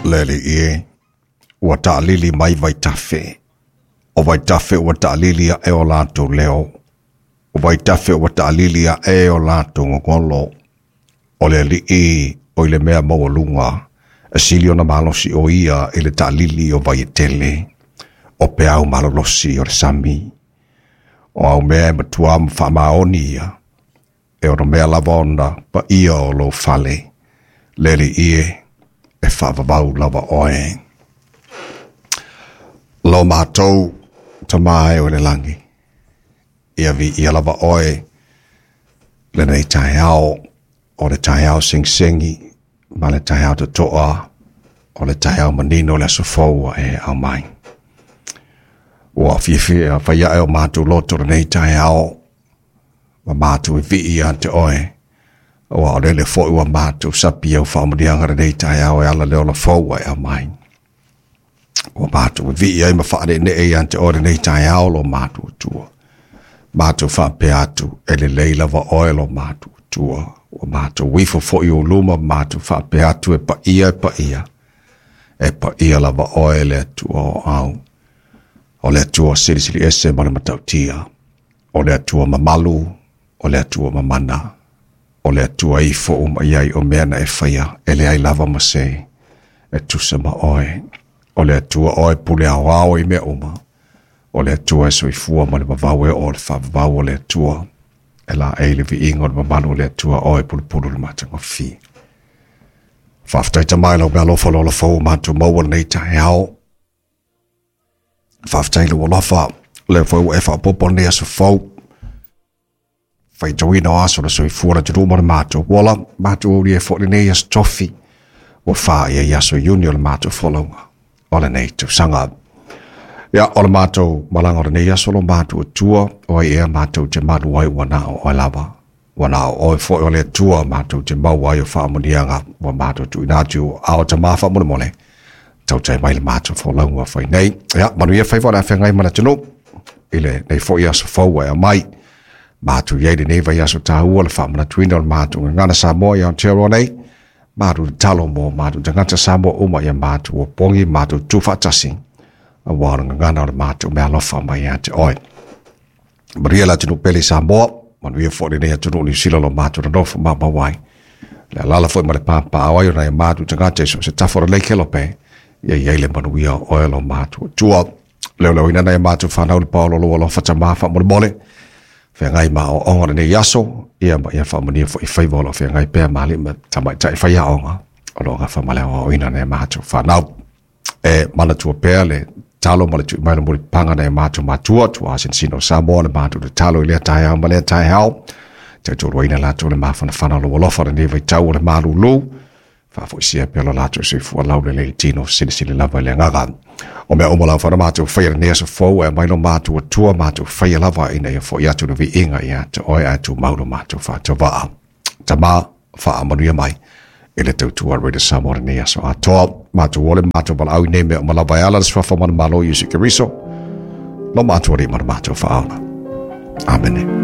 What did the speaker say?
Le Alii e, ua taalili mai vaitafe. O vaitafe ua taalili ae o latou leo. O vaitafe ua taalili ae o latou gogolo. O le Alii o i le mea maualuga, e sili ona malosi o ia i le taalili o vai e tele, o peau malolosi o le sami. O au mea e matua ma faamaoni ia, e ono mea lava ona paia o lou fale. Le Alii e, e faavavau lava oe. Lo matou Tama e o le lagi, ia viia lava oe lenei taeao, o le taeao segisegi ma le taeao totoa, o le taeao manino o le aso fou ua e aumai. Ua fiafia fai ae o matou loto lenei taeao, ma matou e vii ia te oe, ua o lele foi ua matou sapi au faamanuiaga lenei taeao e ala le ola fou ua e aumai. Ua matou e vii ai ma faaneenee ia te oe lenei taeao lo matou Atua. Matou faapea atu, e lelei lava oe lo matou Atua. Ua matou ifo foi i ou luma, matou faapea atu, e paia, e paia, e paia lava oe le Atua o au. O le Atua silisili ese ma le matautia. O le Atua mamalu, o le Atua mamana. O le Atua ifo uma i ai o mea na e faia, e leai lava ma se e tusa ma oe. O le Atua oe pule aoao i mea uma. O le Atua e soifua ma le vavau e oo i le faavavau o le Atua. E laei le viiga o le mamalu o le Atua oe pulupulu le matagofie. Faafetai Tama i lau meaalofa le ola fou ua matou maua lenei taeao. Faafetai i lou alofa, lea foi ua e faaopoopo lenei aso fou. Faitauina o aso o le soifua o le atunuu ma le matou ola, matou aulia ai foi lenei aso tofi, ua faia i aso Iuni o le matou folauga o lenei tausaga. Ia, o le matou malaga o lenei aso lo matou Atua, o ai ea matou te malu ai ua na o oe lava. Ua na o oe foi o le Atua matou te maua ai o faamanuiaga ua matou tuuina atu i ou aao Tama faamolemole. Tautai mai le matou folauga ua fai nei. Ia, manuia faiva o le a feagai ma le atunuu i lenei foi aso fou ua e aumai. Matou i ai lenei vaiaso taua le faamanatuina o le matou gagana Samoa i Aotearoa nei. Matou tatalo mo matou tagata Samoa uma ia matou opogi, matou tutu faatasi, aua o le gagana o le matou meaalofa mai ia te oe. Manuia le atunuu pele i Samoa, manuia foi lenei atunuu Niu Sila o lo matou nonofo maumau ai. Le alaala foi ma le papaao ai o nai o matou tagata i so o se tafa o lenei kelope, ia i ai le manuia o oe lo matou Atua. Leoleoina nai a matou fanau le paolo o lou alofa Tama faamolemole, feagai ma aoaoga o lenei aso, ia ma ia faamanuia foi i faiva o lo o feagai pea ma alii ma tamaitai faiaoga o lo o gafa ma le aoaoina nai a matou fanau. E manatua pea le talo ma le tui mai le mulipapaga nai a matou matua, tuaa sinosino o Samoa, le matou tatalo i lea taeao ma lea taeao. Tautualuaina latou le mafanafana o lou alofa lenei vaitau o le malulu. Faafoisia pea lo latou soifua laulelei i tino silisili lava i le agaga. O mea uma lava na matou faia lenei aso fou e aumai lo matou Atua, matou faia lava ina ia foi atu le viiga ia te oe ae tumau lo matou faatauvaa. Tama, faamanuia mai i le tautua a Radio Samoa lenei aso atoa. Matou ole, matou valaau i nei mea uma lava e ala le suafa ma le Malo Iesu Keriso, lo matou Alii ma le matou Faaola. Amene.